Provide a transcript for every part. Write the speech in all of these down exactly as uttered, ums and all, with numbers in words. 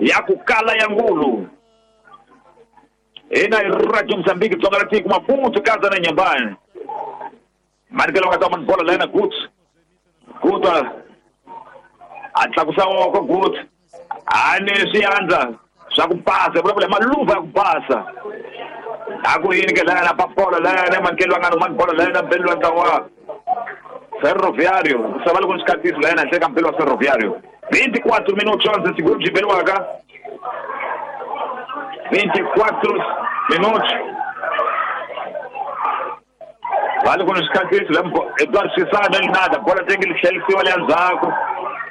Ya ku kala ya ngulu. Ina Radio Mozambique Tsonga la tiko Maputo kaza na Nyambani. Marikelo nga tama bola lena Guts. Guta. A tlakusa woko Guts. Ane swiandla swa ku pasa, vulavula maluva ya ku pasa. A ku yini ke lana pa bola lena mankelo nga no man bola lena mbelo wa ntlawa. Ferroviário, sabe alguns catis lena, chega pelo Ferroviário. vinte e quatro minutos antes segundo de Beluaga. vinte e quatro minutos. Vale com os catis, Eduardo Cissá, não nada. Bola tem que ele se olha Zaco.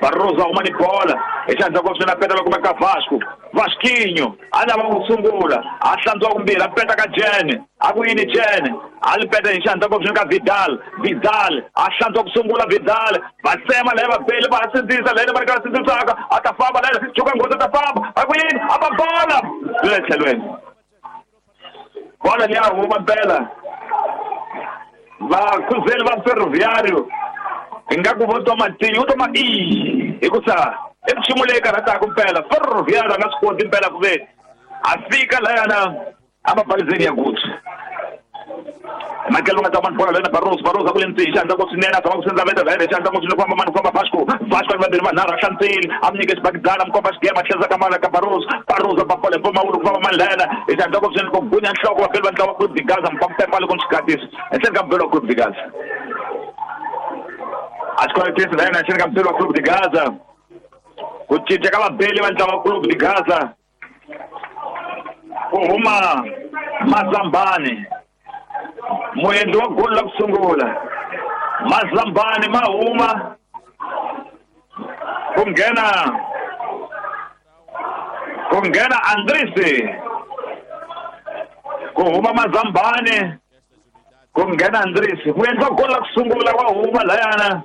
Barroso arruma de bola. Ele já jogou na pedra como é que é Vasco. Vasquinho, anda vamos sungula. Achando algum bira, peta com a Jenny. Aguini Jenny. Ali peta enxando com a Vidal. Vidal, achando com sungula Vidal. Vai cima, leva pele, vai sentir, leva para cá, sentir saca. Atafaba, leva, joga com Atafaba. Aguini, a bola. Lece Bola ali arruma bela. Vai cruzeiro, vai ferroviário. Ingaku vou tomar tinho, toma i. Ikusa, emshimule karata kumpela, ferroviário nga swi impela ku ve. A fika lana amabalizeni ya Guts. Makelo nga tama bola lena Barroso, Barroso ku lentsi xandla ku swinene tama ku sendza veta veta xandla ku swinene ku mani ku Vasco, Vasco va ndiri manara xantsini, amnyike xibakidana mkomba xigema tlheza ka mala ka Barroso, Barroso ba bola mpoma wu ku famba mani lena, xandla ku swinene ku gunya nhloko wa phela ntlawa ku digaza mpampepa loko xikatisa. Enhleni ka mbelo ku digaza. As quarenta lena chega pelo Clube de Gaza. O Tite acaba bem levantava o Clube de Gaza. Uma Mazambane. Moendo gol la sungula. Mazambane mauma. Kungena. Kungena Andrisi. Kuhuma Mazambane. Kungena Andrisi. Moendo gol la sungula wa huma layana.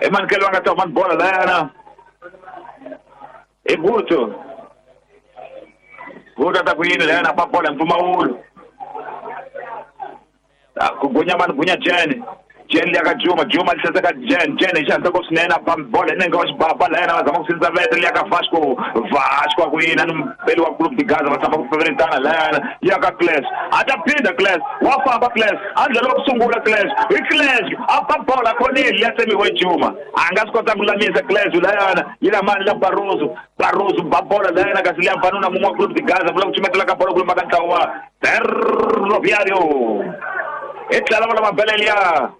Emankelo nga tama bola layana. E Guto. Guto ta kuyini layana pa bola mpumawulu. Kugunya man gunya Jen. Jen liaka Juma, Juma lisesa ka Jen, Jen isha ko sinena pa bola nenga wa baba layana zama kusinza vete liaka Vasco, Vasco kuyina mbele wa Clube de Gaza basama kufeventana layana yaka Clash. Atapinda Clash, wafamba Clash, andlela kusungula Clash. I Clash apa bola khonile yasemi we Juma. Angasikota kulamisa Clash layana yila mani la Barroso, Barroso babola layana kasi liyamfanuna mumwa Clube de Gaza vula kuchimetela ka bola kulumba ka ntlawa Ferroviário. Etlala bola mabelelia.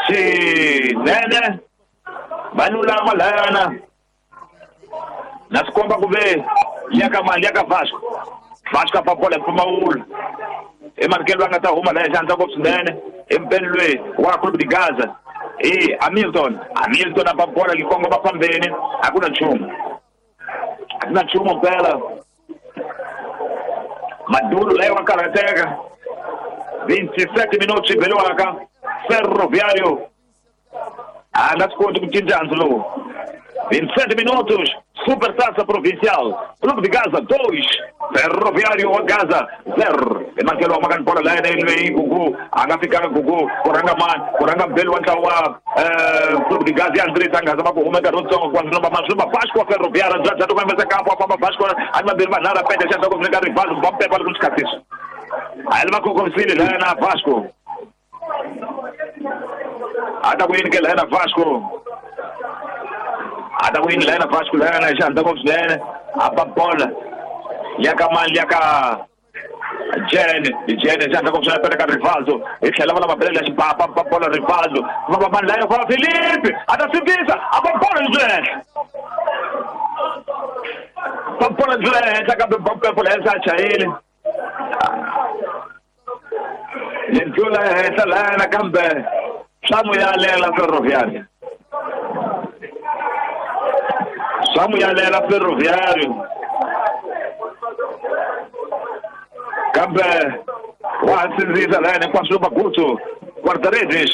Xinene vanhu lama layana na swi komba ku ve yaka mali yaka Vasco, Vasco a bola mpfumawulo emanikelo va nga ta huma laya xandla ngopfu swinene empeni lweyi wa Clube de Gaza e Hamilton, Hamilton a bola yi kongoma fambeni a ku na nchumu, a ku na nchumu mpela Maduro laya wa karhateka. Vinte e sete minutos Beluaca Ferroviário. Ah, nas contas com Tinjandlo. vinte e sete minutos, Supertaça Provincial. Clube de Gaza dois, Ferroviário Gaza zero. E Marcelo Magan por lá ele vem Gugu, anga fica Gugu, Coranga man, Coranga Belo Antawa, Clube de Gaza e André Tanga, zama com uma garoto quando não mais uma Vasco Ferroviário, já já do vai campo, a Vasco, a Birmanara pede já com o Rivaldo, bom pé para os catis. Aí ele vai com o Concílio lá na Vasco. Ata ku yini ke lena Vasco. Ata ku yini lena Vasco lena xandla ngopfu swinene. A bola yaka mali yaka Jen, Jen xandla ngopfu swinene peta ka Rivaldo. Hi tlhela va lava belela xibaba ba bola Rivaldo. Va va mali laya fa Felipe. Ata sivisa a bola ndzhenhla. Ba bola ndzhenhla kambe ba bola henhla chayile. Lentula henhla lana kambe swa Ferroviário. Swa Ferroviário. Kambe wa sindzisa lana hinkwaswo Bagutu guarda-redes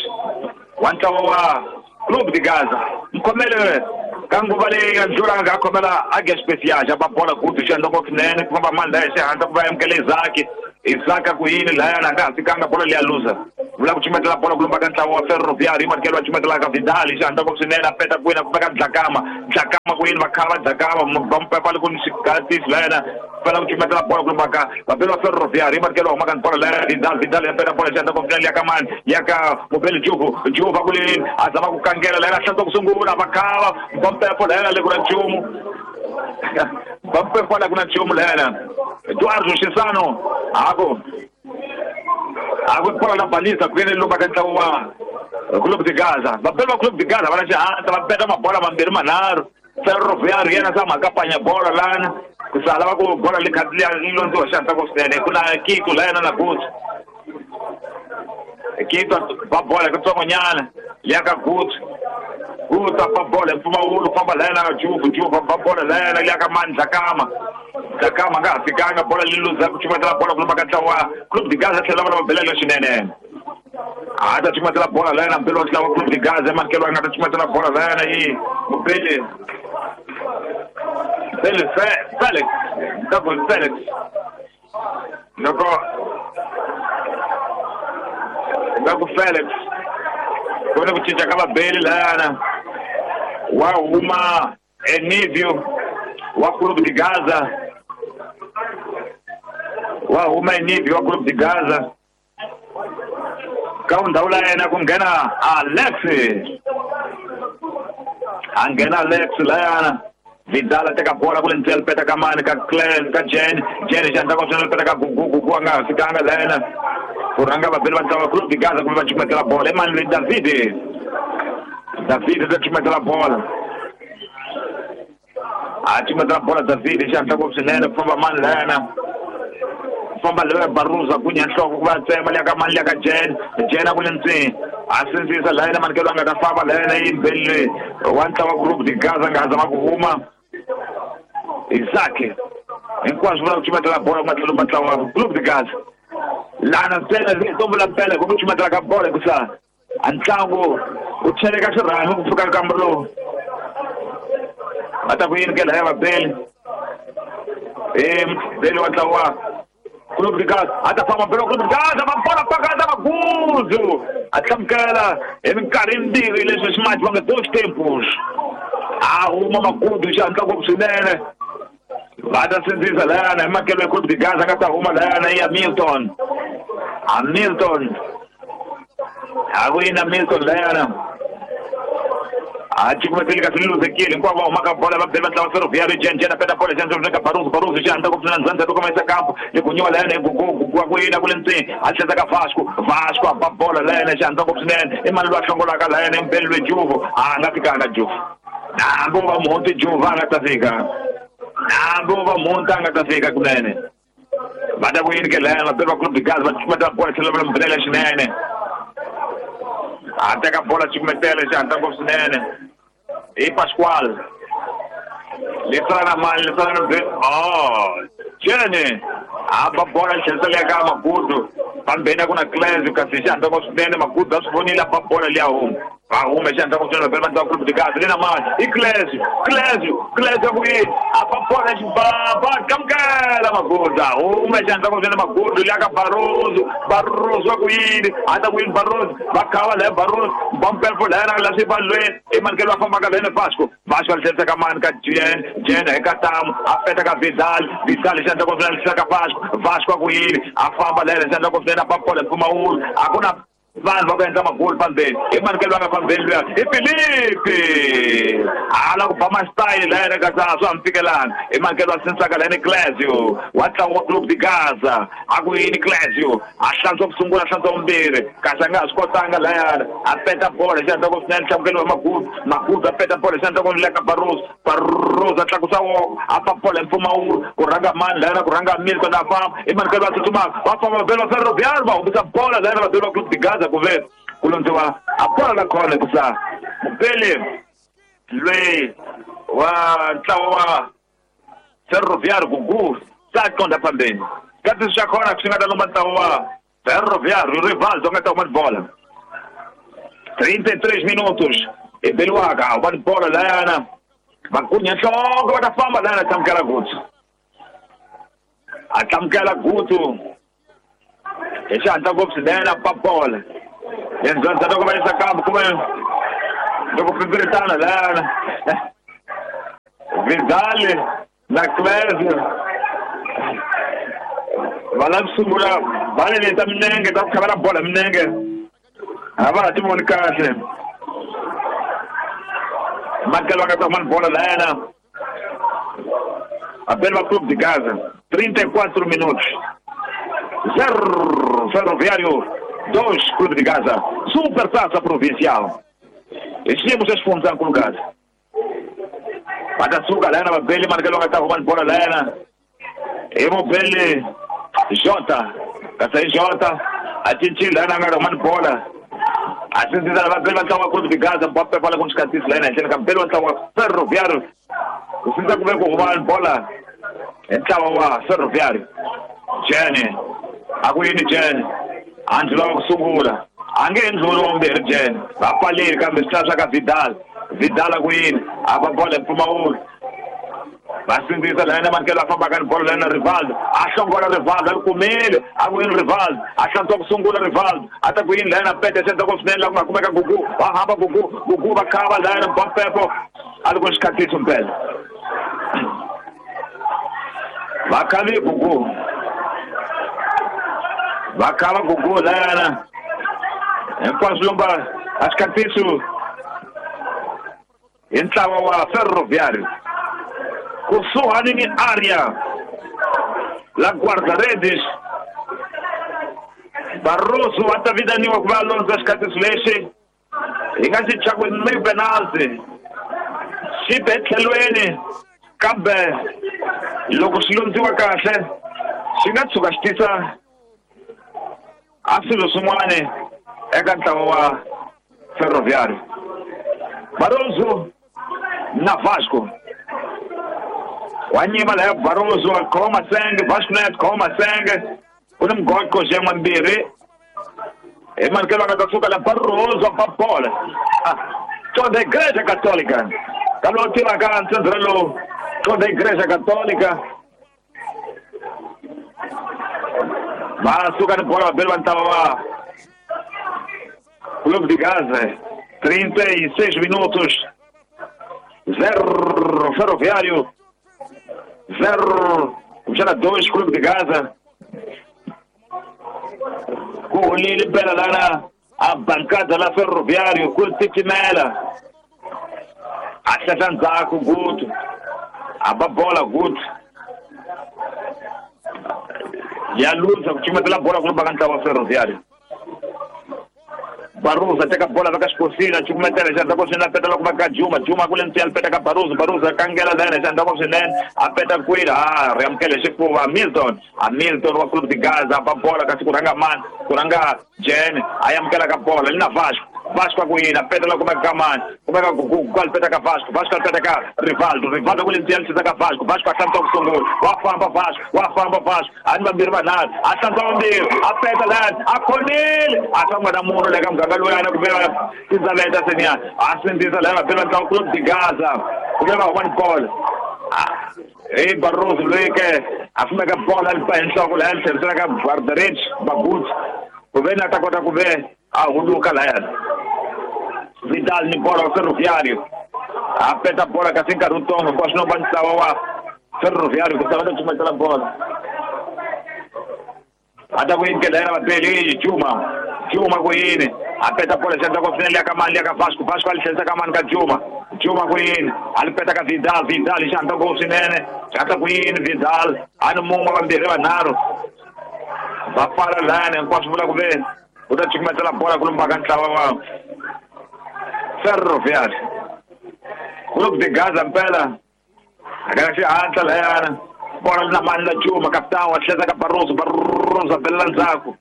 wa ntlawa wa Clube de Gaza. Mkhomele ka nguva leyi nga ndlula nga khomela age special ba bola Gutu xandla ngopfu swinene ku famba mani laya xihandla ku va amukele Isaac. Isaac ku yini laya na nga ha fikanga bola leya luza. Vula ku chumetela bola ku lumba ka ntlawa wa Ferroviário, Markelo a chumetela ka Vidal, xandla ngopfu swinene a peta ku wina ku fika Dlakama, Dlakama ku yini va khava dzakava va mpepa loko ni xigatisi layena fela ku cumetela bola ku maka vabeli va Ferroviário i manikelo humaka ni bola laya Vidal Vidal ya peta bola xandla konfina ya ka mani ya ka mubeli Juvu Juvu va kulini a zama ku kangela layena hlantswa ku sungula va khava va mpepo layena le ku na nchumu va mpepo la ku na nchumu layena Eduardo Chisano ako ako bola la baliza ku yena lomba ka ntlawa wa Clube de Gaza vabeli va Clube de Gaza va na xihatla va peta mabola mambirhi manharhu Ferroviário yena sa makapanya bola lana ku sala va ku bola le kha liya londziwa xihatla ku swinene ku na Kito layena na Guts Kito va bola kutsongonyana liya ka Guts Guts va bola mpfumawulo famba layena Juvu Juvu va bola layena liya ka mani Dlakama Dlakama nga ha fikanga bola li luza ku cumetela bola ku lomba ka ntlawa Clube de Gaza tlhela va na mabelelo swinene a ta cumetela bola layena mbelo wa ntlawa Clube de Gaza manikelo a nga ta cumetela bola layena yi mubeli Felix Felix double Felix loko loko Felix kona ku cinca ka vabeli layana wa huma Enivio wa Clube de Gaza wa huma Enivio wa Clube de Gaza ka ndhawu la yena ku nghena Alex a nghena Alex layana Vidal a teka bola kule ndzeni peta ka mani ka Clen ka Jen Jen xandla ko swinene peta ka Gugu Gugu a nga ha fikanga layena ku rhanga vabeli va ntlawa Clube de Gaza kumbe va cumetela bola i mani loyi David David ta cumetela bola a cumetela bola David xandla ko swinene ku famba mani layena famba leyo Baruza gunya nhloko ku va tsema liya ka mani liya ka Jen Jen a kule ndzeni a sindzisa layena manikelo a nga ta famba layena yi mbeli wa ntlawa Clube de Gaza nga ha zama ku huma Isaac hinkwaswo vula ku cumetela bola ku nga tlhelo ntlawa Clube de Gaza lana ntsena tombo la mpela ku cumetela ka bola hikusa a ntlangu wu cheleka xirhami ku fika nkambo lowu va ta ku yini ke laya vabeli e mbeli wa ntlawa Clube de Gaza a ta famba mbeli wa Clube de Gaza va bola pakata maguzu a hlamukela hi minkarhi yimbirhi leswi swi va nga dos tempos a huma magudu xihatla ngopfu swinene va ta sindzisa layana hi makelo ya Clube de Gaza nga ta huma layana ya Milton a Milton a ku yina Milton layana a cukumeteli kasi liluzekile hinkwavo va humaka bola va beli va ntlawa Ferroviário Jen Jen a peta bola xandla ka Baruzu Baruzu xandla ku pfuna ndzandza loko ma yisa kampo ni ku nyiwa layena hi Gugu Gugu ku yina ku le ndzeni a tlhela ka Vasco Vasco a ba bola layena xandla ngopfu swinene i mani loyi a hlongolaka layena i mbeli loyi Juvu a nga fikanga Juvu hambi va muhunti Juvu a nga ta fika hambi va muhunti a nga ta fika kunene va ta ku yini ke layena va beli va Clube de Gaza va cukumetela bola tlhela va mbelela swinene a teka bola cukumetela xihatla ngopfu swinene i Pascoal lesala na mani lesala na oh Jene a ba bola tlhelisela ya ka Magudu pambeni ku na Clens kasi xihatla ngopfu swinene Magudu a swi vonile a ba bola liya huma va huma xihatla ngopfu swinene vabeli va ntlawa Clube de Gaza le na mani i Clens Clens Clens ku yini a ba bola xibaba kamukela Magudu a huma xihatla ngopfu swinene Magudu liya ka Baruzu Baruzu ku yini a ta ku yini Baruzu va khava laya Baruzu bampelfo layena la swi valweni i manikelo va fambaka layena Vasco Vasco a tlherisa ka mani ka Jen Jen hi ka Tamu a peta ka Vidal Vidal xihatla ngopfu swinene tlherisa ka Vasco Vasco a ku yini a famba layena xihatla ngopfu swinene a ba bola mpfumawulo a ku na vanhu va ku endla magoli pambeni i manikelo va nga fambeni luya i Filipe a la ku ba masitayili layena kasi a swa ha mi fikelanga i manikelo va sindzisaka layena Clésio wa ntlangu wa Clube de Gaza a ku yini Clésio a hlantswa ku sungula a hlantswa vumbirhi kasi a nga ha swi kotanga layana a peta bola xihatla ngopfu swinene hlamukelo wa Magudu Magudu a peta bola xihatla ngopfu le ka Baruzu Baruzu a tlakusa woko a fa bola hi mpfumawulo ku rhanga mani layena ku rhanga Milton a famba i manikelo va tsutsumaka va famba vabeli va Ferroviário va humisa bola layena vabeli va Clube de Gaza ku ve ku londziwa a bola la khona hikusa mubeli loyi wa ntlawa wa Ferroviário Gugu sa qonda phambeni kasi swa khona swi nga ta lomba ntlawa wa Ferroviário Rivaldo nga ta huma bola trinta e três minutos e beliwaka va bola layana va kunya nhloko va ta famba layana hlamukela Gutsu a hlamukela Gutsu hi xihatla ngopfu swinene a ba bola endzhaku loko va yisa kambe kumbe loko pipiritana layana Vidal na Clésio va lava ku sungula bale leti ta minenge ta ku khavela bolo minenge a va ha ti voni kahle Makelo va nga ta huma bolo la yena Abel va Clube de Gaza trinta e quatro minutos zero Ferroviário dois Clube de Gaza Supertaça Provincial xiyimo xa xifundzankulu Gaza va ta suka la yena vabeli Makelo va nga ta huma bolo la yena hi mubeli Jota kasi hi Jota a cincile la yena a nga ri humani bola a sindzisa vabeli va ntlangu wa Clube de Gaza Mbappe va le ku ni xikatisi la yena henhleni ka mubeli wa ntlangu wa Ferroviário ku sindza ku ve ku huma bola hi ntlawa wa Ferroviário Jene a ku yini Jene a ndzi lava ku sungula a nge endluli wa vumbirhi Jene va pfaleli kambe swi swa ka Vidal Vidal a ku yini a va bola hi mpfumawulo va sindzisa la yena Mankelo a fambaka ni bolo la yena Rivaldo a hlongola Rivaldo a ri kumile a ku yini Rivaldo a hlantswa ku sungula Rivaldo a ta ku yini la yena pete xi endzhaku swinene la ku nga kumeka Gugu va hamba Gugu Gugu va khava la yena Mbappé a ri ku xikhatisi mpela va khavi Gugu va khava Gugu la yena hinkwaswo lomba a xikhatisi hi ntlawa wa Ferroviário kusuhani ni área la guarda-redes Barroso va ta vitaniwa ku va londza xikhatisi lexi hi nga xi chaku ni penalty xi be tlhelweni kambe loko xi londziwa kahle xi nga tshuka xi tisa a swilo swin'wana eka ntlawa wa Ferroviário Barroso na Vasco wa nyima laya Barroso a khoma senge Vasco na khoma senge ku ni mgoqo xen'we mbirhi hi Mankelo a nga ta suka la Barroso a ba bola toda Igreja Católica ka lowu tivaka ntsendzela lowu toda Igreja Católica va suka ni bola vabeli va ntlawa wa Clube de Gaza trinta e seis minutos zero Ferroviário zero kumbexana dois Clube de Gaza ku holile mpela lana a bancada la Ferroviário ku titimela a hlahla ndzhaku Gutu a ba bola Gutu ya luza ku cumetela bola ku ka ntlawa wa Ferroviário Barroso teka bola veka xikosini a cukumetela xi endla swinene a peta loko va ka Juma Juma ku le ntiya a peta ka Barroso Barroso a kangela la yena xi endla swinene a peta kwini a ri amukele xifuva Hamilton Hamilton wa Clube de Gaza a ba bola kasi ku rhanga mani ku rhanga Jene a amukela ka bola li na Vasco Vasco a ku yini a peta loko va ka mani kumeka Gugu a peta ka Vasco Vasco a peta ka Rivaldo Rivaldo ku le ntiya a ka Vasco Vasco a hlantswa ku sungula wa famba Vasco wa famba Vasco a ni vambirhi vanharhu a hlantswa vambirhi a peta lani a khomile a famba na munhu le ka muganga loyi a na ku vela tindzaveta seniya a sindzisa laya vabeli va ntlangu Clube de Gaza ku ve va huma ni bola hi Barroso loyi ke a fumeka bola a li ba hi nhloko laya li tlherisela ka guarda-redes Baguts ku ve ni a ta kota ku ve a huluka layana Vidal ni bola wa Ferroviário a peta bola kasi nkarhi wutsongo hinkwaswo no va ntlawa wa Ferroviário ku ta va ta cumetela bola a ta ku yini ke layena vabeli Juma Juma ku yini a peta bola xi endla ku swinene liya ka mani liya ka Vasco Vasco a li tlherisa ka mani ka Juma Juma ku yini a li peta ka Vidal Vidal xi handla ku swinene xi hatla ku yini Vidal a ni mun'we vambirhi vanharhu va pfala layani hinkwaswo vula ku ve u ta cukumetela bola ku lumba ka ntlawa wa Ferroviário Clube de Gaza mpela a ka xihatla layana bola li na mani la Juma capitão a tlhela ka Barroso Barroso a belela ndzhaku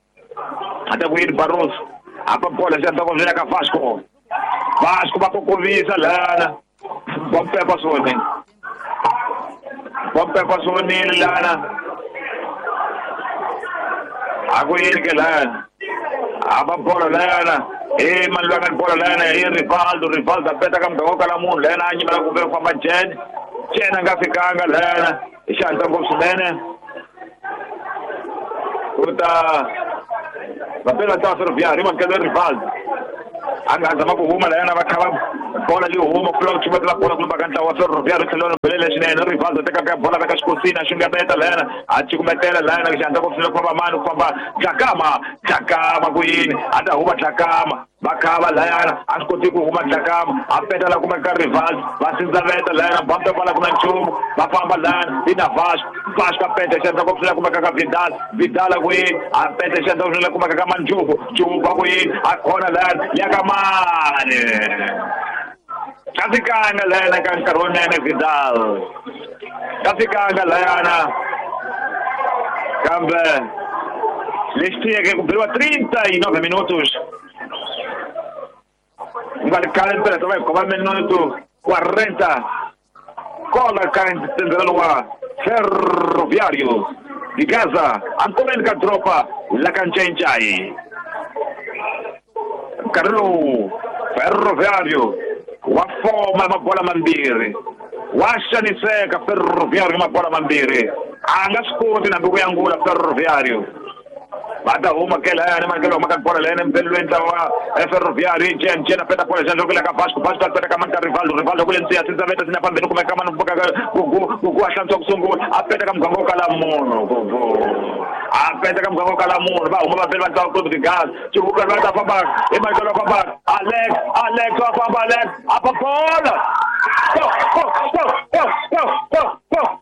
a ta ku yini Barroso a ba bola xi endla ku ka Vasco Vasco va kokovisa lana va mpepa swi vonile va mpepa swi vonile lana a ku yini ke lana a ba bola lana e mani loyi a nga ni bola lana i Rivaldo Rivaldo a peta ka muganga wo kala munhu lana a nyimela ku ve ku famba Jene Jene a nga fikanga lana hi xihatla ngopfu swinene ku ta vabeli va ntlawa Ferroviário i Mankelo Rivaldo A nga zama ku huma layana va kha va bola leyi huma ku hlula ku chumetela bola ku lumba ka ntlawa wa Ferroviário tlhelo belele swinene Rivaldo teka ka bola veka xikosini a xungeteta layana a cukumetela layana xandla ku hlula ku famba mani ku famba Dlakama Dlakama ku yini a ta huma Dlakama va khava layana a swi koti ku huma Dlakama a petela kuma ka Rivaldo va sindzaveta layana bamta kwala ku na nchumu va famba layana i na Vasco Vasco a peta xandla ku hlula kuma ka ka Vidal Vidal ku yini a peta xandla ku hlula kuma ka ka Manjuku Juku ku yini a khona layana ya ka mani kafikanga layana ka nkarhi wunene Vidal kafikanga layana kambe lexi tiyeke ku beriwa trinta e nove minutos nga ri khale mpela va hi khoma minuto quarenta kola ka ntsendzelo wa Ferroviário de Gaza ankomeni ka dropa la ka Ncayincai nkarhi lowu Ferroviário wa foma mabola mambirhi wa xaniseka Ferroviário mabola mambirhi a nga swi koti nambi ku yangula Ferroviário va ta huma ke layani mankelo huma ka bola layani mpelweni ntlawa wa Ferroviário Jen Jen a peta bola xandla ku le ka Vasco Vasco a peta ka mani ka Rivaldo Rivaldo ku le nsiya sindzaveta sina phambeni kumeka mani Gugu Gugu a hlantswa ku sungula a peta ka muganga wo kala munhu Gugu a peta ka muganga wo kala munhu va huma vambirhi va ntlawa Clube de Gaza Chivuka va ta famba hi mankelo wa famba Alex Alex wa famba Alex a pa bola go go go